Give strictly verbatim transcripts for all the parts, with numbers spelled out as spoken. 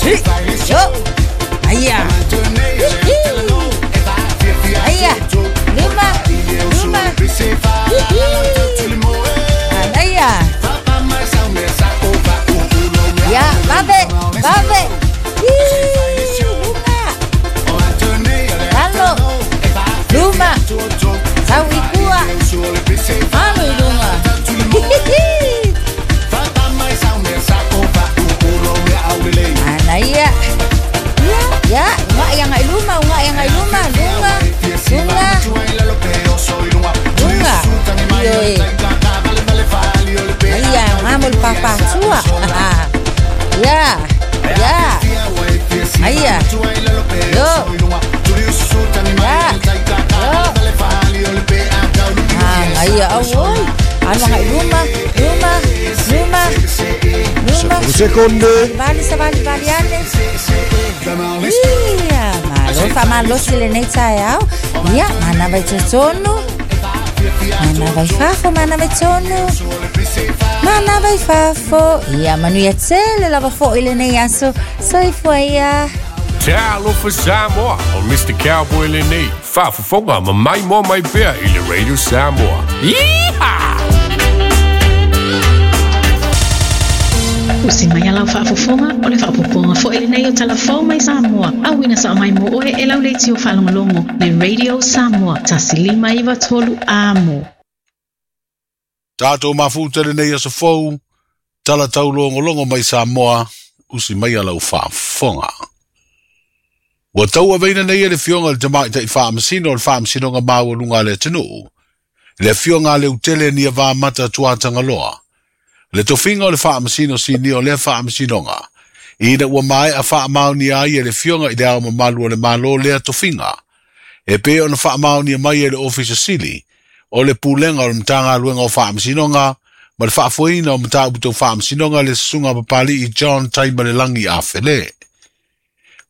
Yo. Aia. Aia. Lima. Luma. Aia. Ya, vave, vave. Luma. Lalo. Luma. Sau ikua. Alo luma. Anaya. Ya, unga yang ai luma, unga yang ai luma, luma. Luma. Luma. Ioe. Aia, ngamul papa sua. Ya. Ya. Aia. Yo. Ya. Yo. Ah, aia awoi. Ano nga luma, luma, luma. Luma. Sekonde. Vali sa vali vali ane. Ia, malo fa malo sile nei taeao. Ia, mana vai totonu. Mana vai fafo, mana vai tonu. Mana vai fafo. Ia, manuia tele lava fo ile nei aso. Soifua ia. Talofa Samoa o Mister Cowboy lenei. Faafofoga ma mai mo mai pea i le Radio Samoa. Yeehaw! Usi mai alau faafofoga o le faapopoga fo'i lenei o talafou mai Samoa. Auina sa mai mo oe e lau leiti o faalogologo le Radio Samoa tasi lima iva tolu amo. Tātou mafuta lenei aso fou, tala taulogologo mai Samoa, usi mai alau faafofoga. Ua taua veina nei e le fioga le tamaitai faamasino o le faamasinoga maualuga a le atunuu. Le afioga a le utele ni a mata tuatangaloa. Le tofiga o le faamasino sinia o lea faamasinoga. Ina ua mae a faamaonia ai e le fioga i le ao mamalu o le Malo lea tofiga. E pei ona faamaonia mai e le Ofisa Sili o le pulega o le Matagaluega o Faamasinoga ma le faafoeina o mataupu tau faamasinoga le susuga papali'i John Taimalelagi Afele.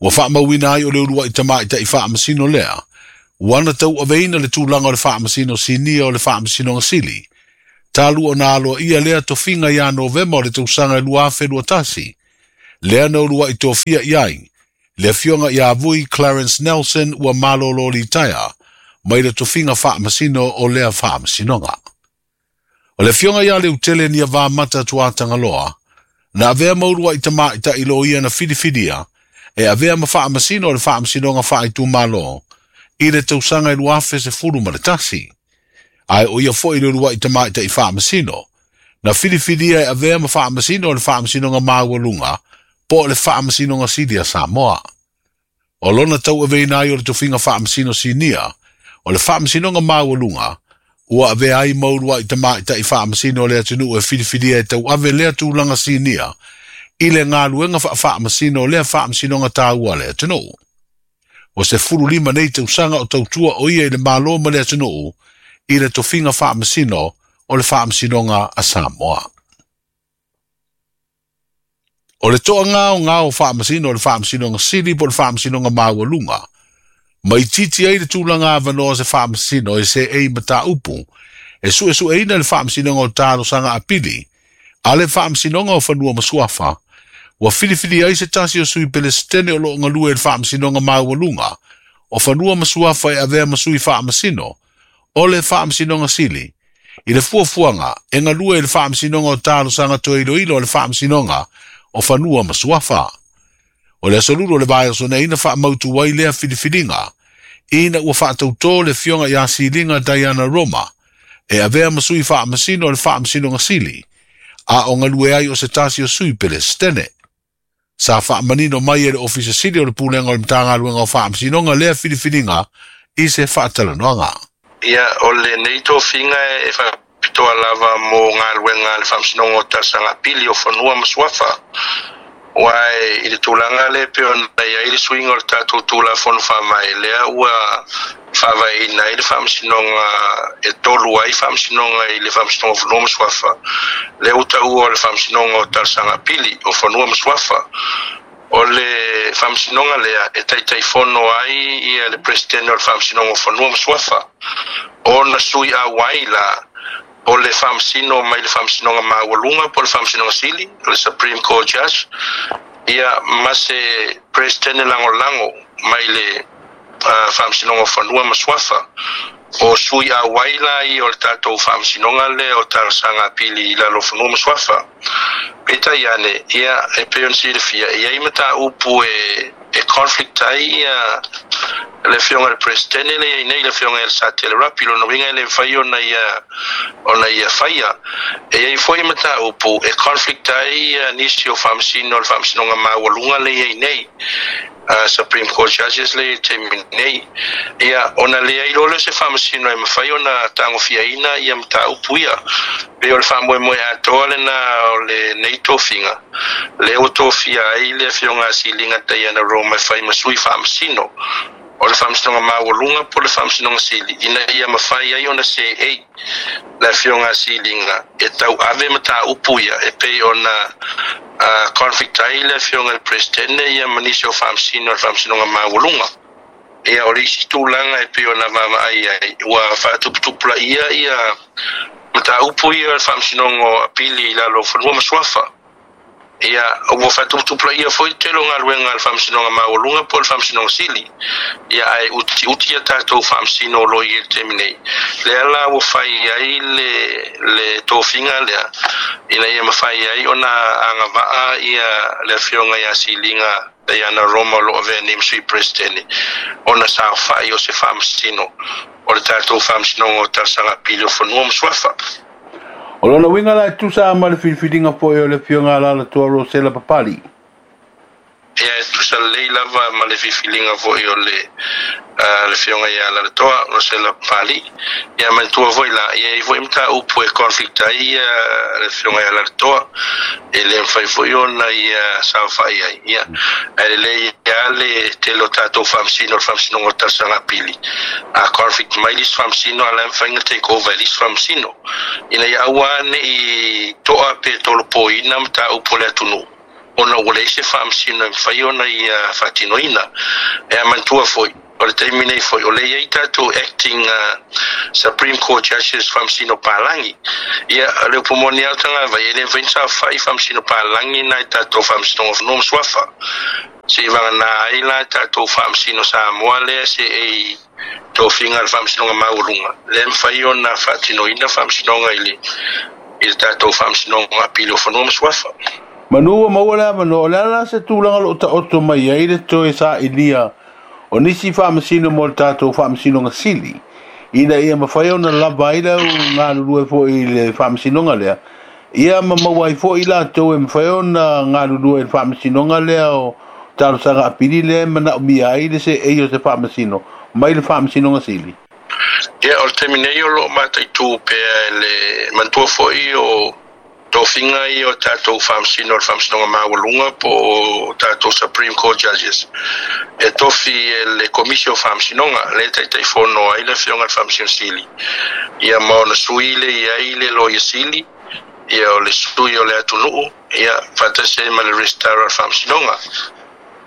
Ua faamauina ai o le ulua'i tamaitai faamasino lea. Ua ana tauaveina le tulaga o le faamasino sinia o le faamasinoga sili. Talu ona aloaia lea tofiga ia Novema o le tausaga e lua afe lua tasi. Lea na ulua'i tofia i ai. Le afioga ia Vui Clarence Nelson ua malolo litaea mai le tofiga faamasino o lea faamasinoga. O le afioga ia le utele ni a vamata tuatangaloa. Na avea maulua'i tamaitai loia na filifilia e avea ma faamasino o le faamasinoga faaitumalo i le tausaga e lua afe sefulu ma le tasi. Ae o ia fo'i le ulua'i tamaitai faamasino. Na filifilia e avea ma faamasino o le faamasinoga maualuga po o le faamasinoga sili a Samoa. O lona tauaveina ai o le tofiga faamasino sinia o le faamasinoga maualuga ua avea ai ma ulua'i tamaitai faamasino o le atunuu e filifilia e tauave lea tulaga sinia i le galuega faafaamasino o lea faamasinoga taua a le atunuu. O se fulu lima nei tausaga o tautua o ia i le Malo ma le atunuu i le tofiga faamasino o le faamasinoga a Samoa. O le toagaogao o faamasino o le faamasinoga sili po o le faamasinoga maualuga. Mai titi ai le tulaga avanoa se faamasino e seei mataupu e suesueina le faamasinoga o talosaga apili a le faamasinoga o fanua ma suafa. Ua filifili ai se tasi o sui Pelestene o loo galue i le faamasinoga maualuga o fanua ma suafa e avea ma sui faamasino o le faamasinoga sili. I le fuafuaga e galue i le faamasinoga o talosaga toeiloilo o le faamasinoga o fanua ma suafa. O le aso lulu o le vaiaso nei na faamautu ai lea filifiliga ina ua faatautō le fioga iā Siliga Diana Roma e avea ma sui faamasino o le faamasinoga sili a o galue ai o se tasi o sui Pelestene. Sa faamanino mai e le Ofisa Sili o le Pulega o le Matagaluega o Faamasinoga lea filifiliga i se faatalanoaga. Ia, o lenei tofiga e faapitoa lava mo galuega a le faamasinoga o talosaga apili o fanua ma suafa. Ua e i le tulaga le pe ona iai le suiga o le tatou Tulafono Faavae lea ua faavaeina ai le faamasinoga e tolu ai faamasinoga i le faamasinoga o fanua ma suafa. Lea ua taua o le faamasinoga o talosaga apili o fanua ma suafa. O le faamasinoga lea e taitaifono ai ia le Peresetene o le faamasinoga o fanua ma suafa. Ona sui auai la o le faamasino mai le faamasinoga maualuga po o le faamasinoga sili, o le Supreme Court Judge, Ia ma se Presidente lagolago mai le uh, Faamasinoga o Fanua ma Suafa. O sui auai la ia o le tatou Faamasinoga lea o Talosaga Apili i lalo o Fanua ma Suafa. Peitai ane, ia e pei ona silafia, e iai mataupu e e conflict ai ia le afioga i le Peresetene lea e i ai nei, le afioga ia Satele Rapi, lona uiga e le mafai ona ia ona ia faia. E i ai foi mataupu e conflict ai ia nisi o faamasino o le Faamasinoga Maualuga lea e i ai nei, uh, Supreme Court Judges lea i le taimi nei. Ia, ona leai loa lea o se faamasino e mafai ona tagofiaina ia mataupu ia. Pei o le faamoemoe atoa lena o lenei tofiga, lea ua tofia ai le afioga a Siliga Diana Roma e fai ma sui faamasino o le Faamasinoga Maualuga po o le Faamasinoga Sili, ina ia mafai ai ona seei le afioga a Siliga e tauave mataupu ia e pei ona uh, conflict ai le afioga i le Peresetene ia ma nisi o faamasino o le Faamasinoga Maualuga. Ia, o le isi tulaga e pei ona vaavaai ai, ua faatuputupulaia ia mataupu ia o le Faamasinoga o Apili i lalo o Fanua ma Suafa. Ia, ua faatuputupulaia foi le tele o galuega a le Faamasinoga Maualuga po o le Faamasinoga Sili. Ia, ae utiuti ia tatou faamasino o lo o i ai i le taimi nei. Lea la ua fai ai le, le tofiga lea, ina ia mafai ai ona agavaa ia le afioga ia Siliga Diana Roma o lo o avea nei ma Sui Peresetene, ona saofai o se faamasino o le tatou Faamasinoga o Talosaga Apili o Fanua ma Suafa. O lona uiga la e tusa ma le filifiliga foi o le afioga a Alaalatoa Rosela Papali. Ia, e tusa lelei lava ma le filifiliga foi o le uh, le afioga ia Alaalatoa Rosela Papali. Ia manatua foi la, ia e i ai foi mataupu e conflict ai ia le afioga ia Alaalatoa, e le mafai foi ona ia saofai ai. Ia, ae lelei lava le tele o tatou faamasino o le Faamasinoga o Talosaga Apili. A conflict mai le isi faamasino, a la e mafai ona take over e le isi faamasino, ina ia aua ne i toa pe tolopoina mataupu o le atunuu, ona ua leai se faamasino e mafai ona ia faatinoina. E manatua foi, o le taimi nei foi o lea e i ai tatou acting uh, Supreme Court Judges, faamasino palagi. Ia, o le upu moni lava o tagavai, e le mafai ona saofai faamasino palagi na i tatou Faamasinoga o Fanua ma Suafa. Se i vagana ai la tatou faamasino Samoa lea se ei tofiga le Faamasinoga Maualuga, lea e mafai ona faatinoina faamasinoga i le i le tatou Faamasinoga Apili o Fanua ma Suafa. Manu ua maua le avanoa, o le a la se tulaga o lo o taoto mai ai le toe sailia o nisi faamasino mo le tatou Faamasinoga Sili, ina ia mafai ona lava ai le au galulue foi i le faamasinoga lea, ia ma maua ai foi latou e mafai ona galulue i le faamasinoga lea o Talosaga Apili lea e manaomia ai le seei o se faamasino mai le Faamasinoga Sili? Ia, o le taimi nei o lo o mataitu pea e le manatua foi o tofiga ia o tatou faamasino o le Faamasinoga Maualuga po o tatou Supreme Court Judges, e tofi e le Komisi o Faamasinoga lea e taitaifono ai le afioga i le Faamasino Sili, ia ma ona sui le i ai le Loia Sili, ia o le sui o le atunuu, ia faatasi ai ma le Registrar o le Faamasinoga.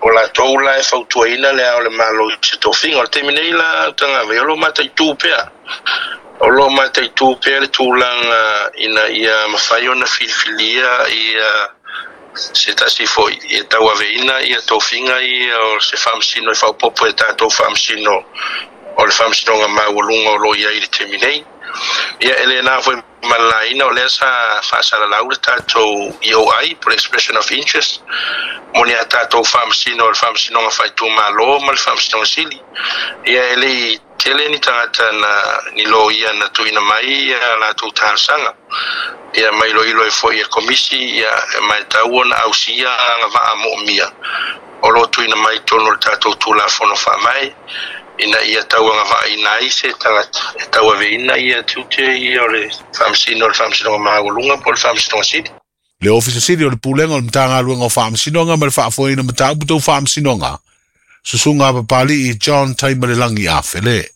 O latou la e fautuaina le Ao o le Malo i se tofiga. O le taimi nei la, tagavai, o lo o mataitu pea. O lo o mataitu pea le tulaga ina ia mafai ona filifilia ia se tasi foi e tauaveina ia tofiga ia o se faamasino e faaopoopo e tatou faamasino o le Faamasinoga Maualuga o lo o i ai i le taimi nei. Ia, e le na foi ma le laina, o lea sa faasalalau le tatou E O I po le Expression of Interest mo ni a tatou faamasino o le Faamasinoga Faaitumalo ma le Faamasinoga Sili. Ia, e le i tele ni tagata na ni loia na tuuina mai ia latou talosaga. Ia, ma iloilo ai foi e komisi, ia e matau ona ausia agavaa moomia o lo o tuuina mai i totonu o le tatou Tulafono Faavae, ina ia tauagavaaina ai se tagata e tauaveina ia tiute ia o le faamasino o le Faamasinoga Maualuga po o le Faamasinoga Sili. Le Ofisa Sili o le Pulega o le Matagaluega o Faamasinoga ma le Faafoeina Mataupu Tau Faamasinoga, Susuga Papali'i John Taimalelagi Afele.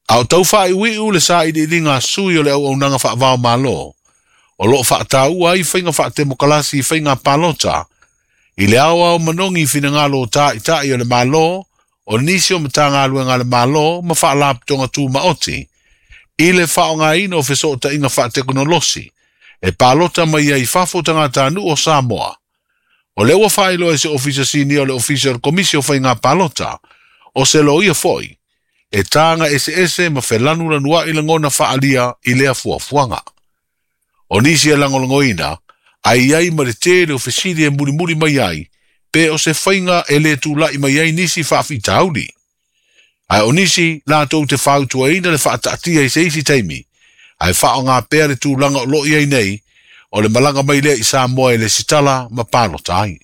A o tau faaiuiu le sailiiliga a sui o le auaunaga faavao Malo, o lo o faataua ai faiga faatemokalasi i faiga palota, i le aoao manogi i finagalo o taʻitaʻi o le Malo, o nisi o Matagaluega a le Malo ma faalapotopotoga tumaoti, i le faaaogaina o fesootaiga faatekonolosi, E palota mai ai fafo tagatanuu o Samoa. O le ua faailoa e se ofisa sinia o le ofisa o le komisi o faiga palota, o se loia fo'i, e taga eseese ma felanulanua'i lagona fa'alia i lea fuafuaga. O nisi e lagolagoina, ai ai ma le tele o fesili e mulimuli mai ai, pe o se faiga e lē tula'i mai ai nisi fa'afitauli. Ae o nisi latou te fautuaina le fa'ata'atia i se isi taimi, ae fa'aogā pea le tulaga o lo'i ai nei, o le malaga mai lea i Samoa e le sitala ma palota ai.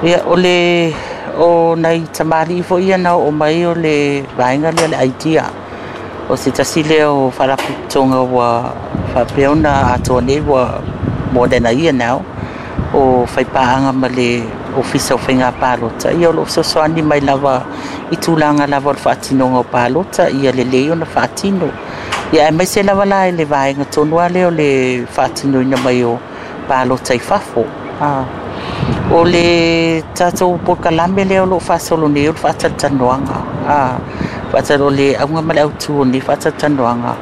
Ia, o le o nai tamalii fo'i ia na oo mai o le vaega lea le idea o se tasi lea o faalapotopotoga ua faapea ona atoa nei ua more than a year now o faipaaga ma le ofisa o faiga palota. Ia o loo fesoasoani mai lava i tulaga lava o le faatinoga o palota ia lelei ona faatino. Ia aemaise lava la i le vaega tonu a lea o le faatinoina mai o palota i fafo. Ah. O le tatou polokalame lea o loo faasolo nei o le faatalatalanoaga. Ah, faatalo o le auga ma le autū o lenei faatalatalanoaga.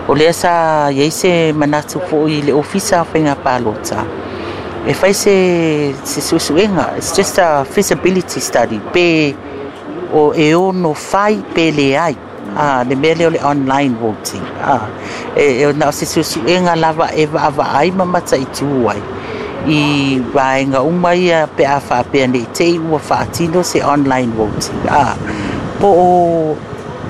O lea sa iai se manatu fo'i i le ofisa o faiga palota e fai se se suesuega. It's just a feasibility study pe o e ono fai pe leai ah, le mea lea o le online voting. Ah, e, e na o se suesuega lava e vaavaai ma mataitū ai i vaega uma ia pe a faapea nei te i ua faatino se online voting. Ah, po o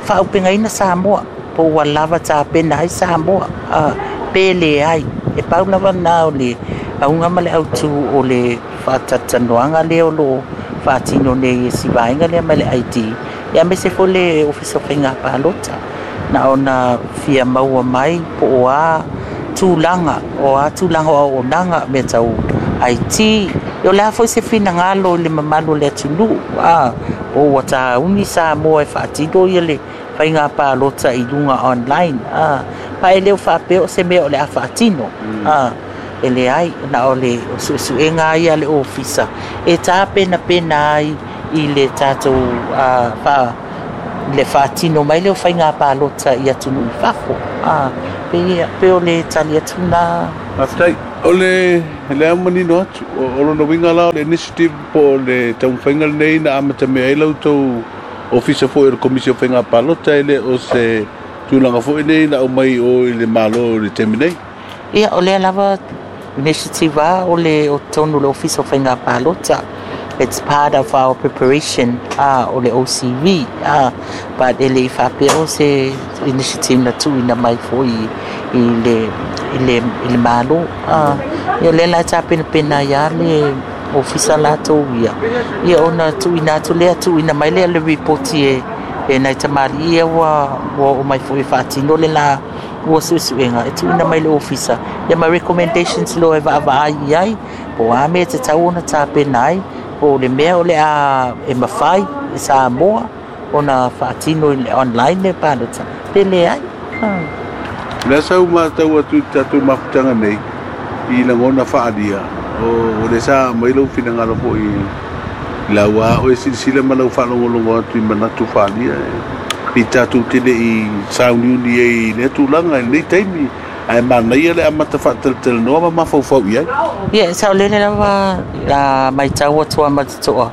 faaupegaina Samoa, po ua lava tapena ai Samoa, ah, pe leai. E pau lava na o le auga ma le autū o le faatalatalanoaga lea o loo faatino nei e si vaega lea ma le I D, ia aemaise foi le ofisa o faiga palota na ona fia maua mai po o a tulaga o a tulaga o auaunaga mea tau I T. O le a foi se finagalo i le mamalu o le atunuu, a po ua tauni Samoa e faatino ia le faiga palota i luga online. A pa e leo faapea o se mea o le a faatino, a e leai, na o le suesuega ai a le ofisa e tapenapena ai i le tatou uh, fa le faatino mai lea o faiga palota i atunuu i fafo. A pe pe o le tali atu na. Faafetai. O le le manino atu, o lona uiga la o le initiative po o le taumafaiga lenei na amatamea ai la outou ofisa foi o le komisi o faiga palota, e le o se tulaga foi nei na aumai o i le Malo i le taimi nei. Ia, o lea lava initiative a o le o tonu le ofisa o faiga palota. It's part of our preparation uh, o le O C V, uh, but e le i faapea o se initiative na tuuina mai foi i le i le i le Malo. uh, ia lea la e tapenapena ia le ofisa latou ia ia ona tuuina atu lea, tuuina mai lea le ripoti e e nai tamalii ia ua ua oo mai foi e faatino le la ua suesuega e tuuina mai le ofisa ia ma recommendations loa e vaavaai i ai po o a mea e tatau ona tapena ai, po o le mea o le a e mafai e Samoa ona faatino i le online le palota pe leai. Ah. Lea sa u matau atu i tatou mafutaga nei i lagona faalia o o le sa mai lou finagalo foi i lau a o e silasila ma lau faalogologo atu i manatu faalia i tatou tele i sauniuni ai i lea tulaga i lenei taimi, ae manaia le amata faatalatalanoa ma mafaufau i ai. Ia, saolele lava la matau atu a ma totoa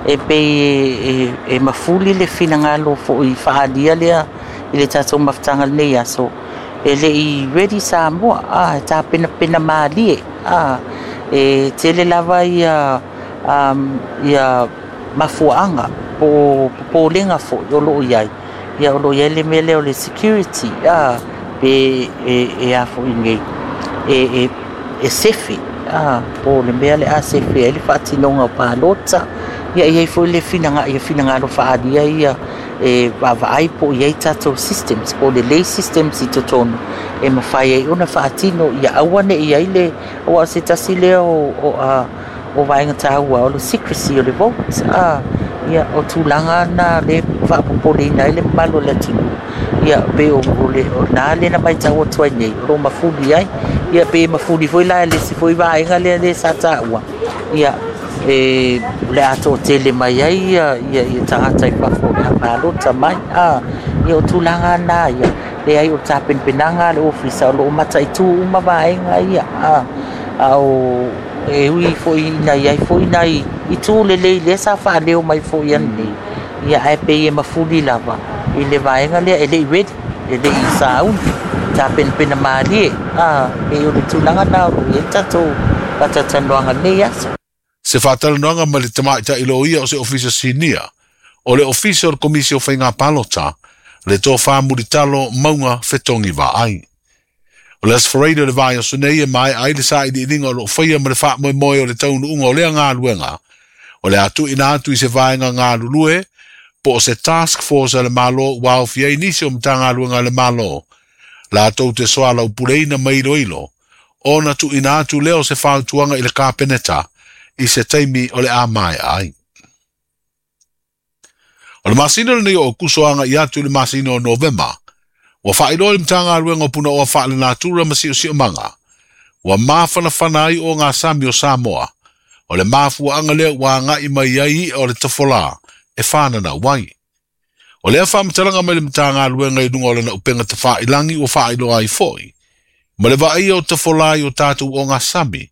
e pei e, e, e mafuli le finagalo fo'i faalia lea i le tatou mafutaga lenei aso. E le i ready Samoa, a e tapenapena malie, a e tele lava ia um, ia mafuaaga po popolega fo'i o loo iai. Ia o loo iai le mea lea o le security, a pe e, e a fo'i nei e, e, e sefe, a po o le mea le a sefe ai le faatinoga o palota. Ia i ai foi le finaga ia finagalo faaalia ia e vaavaai po o i ai tatou systems po o lelei systems i totonu e mafai ai ona faatino ia aua ne i ai le aua o se tasi lea o, o, a, o vaega taua o le secrecy o le vote. A ia o tulaga na le faapopoleina ai le mamalu o le atunuu. Ia pe o, o le o na le na matau atu ai nei o lo mafuli ai. Ia pe mafuli foi la le isi foi vaega lea le sa taua ia e le a toatele mai ai ia ia, ia tagata i fafo o le a palota mai. A ia o tulaga na ia Leai o le tapenapenaga a le ofisa o loo mataitū uma vaega ia a a o e ui foʻi ina iai foʻi nai itu lelei lea sa faaleo mai foʻi ananei ia ae pei e mafuli lava i le vaega lea e leʻi ready e leʻi sauni tapenapena malie a pei o le tulaga na o loo iai tatou faatalatalanoaga lenei aso. Se faatalanoaga ma le tamaʻitaʻi loia o se ofisa sinia o le ofisa o le Komisi o Faiga Palota le tofā mulitalo mauga fetogi vaai. O le Aso Faraile o le vaiaso nei e mae'a ai le saʻiliʻiliga o loo faia ma le faamoemoe o le taunuuga o lea galuega o le a tuuina atu i se vaega galulue po o se task force a le Mālō ua aofia ai nisi o Matagaluega a le Mālō latou te soalaupuleina ma iloilo ona tuuina atu lea o se fautuaga i le Kapeneta i se taimi o le a mae'a ai. O le masina lenei o Okuso agaʻi atu i le masina o Novema, ua faailoa le Matagaluega o Punaoa Faalenatura ma Siosiomaga, ua mafanafana ai ogasami o Samoa, o le mafuaaga lea ua agaʻi mai ai iʻa o le tafolā e fananau ai. O lea faamatalaga mai le Matagaluega i luga o lana upega tafailagi ua faailoa ai foʻi, ma le vaaia o tafolā i o tatou ogasami,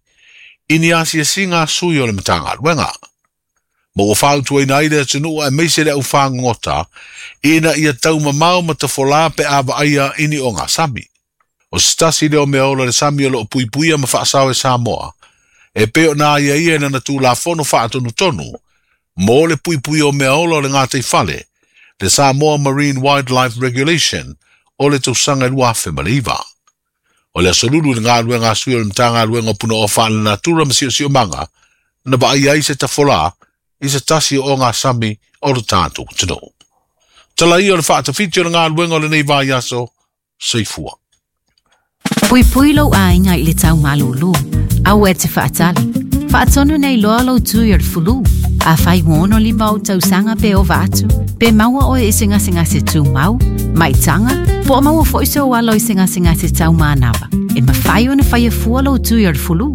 i ni asiasiga a sui o le Matagaluega. Ma ua fautuaina ai le atunuu aemaise le aufagogota ina ia taumamao ma tafolā pe a vaaia i ni ogasami. O se tasi lea o mea ola le sami o loo puipuia ma faasao e Samoa, e pei ona aiaia i lana Tulafono Faatonutonu mo le puipuia o mea ola o le gataifale, le Samoa Marine Wildlife Regulation o le tausaga e lua afe ma le iva. O le aso Lulu i le galuega a sui o le Matagaluega o Punaoa Faalenatura ma Siosiomaga na vaaia ai se tafolā i se tasi o ogasami o le tatou atunuu. Tala ia o le faatafiti o le galuega o lenei vaiaso, soifua. Puipui lou aiga i le tau malūlū. Aua e te faatali. Faatonu nei loa lou tui o le fulu. Afai ua ono lima ou tausaga pe ova atu, pe maua oe i se gasegase tumau, maitaga, po o maua foi sou alo i se gasegase taumanava. E mafai ona faia fua lou tui o le fulu.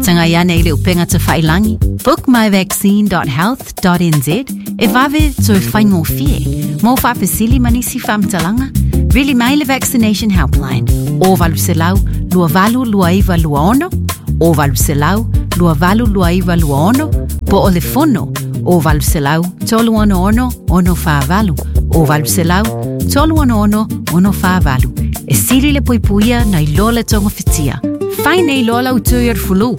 Tagai ane i le upega tafailagi bookmyvaccine dot health dot n z e vave toe faigofie. Mo faafesili ma nisi faamatalaga, vili mai le Vaccination Helpline o valu selau lua valu lua iva lua ono, o valu selau lua valu lua iva lua ono, po o le fono o valu selau tolu ono ono ono fa valu, o valu selau tolu ono ono ono fa valu. E sili le puipuia nai lo le togafitia. Fai nei loa lau tui o le fulu.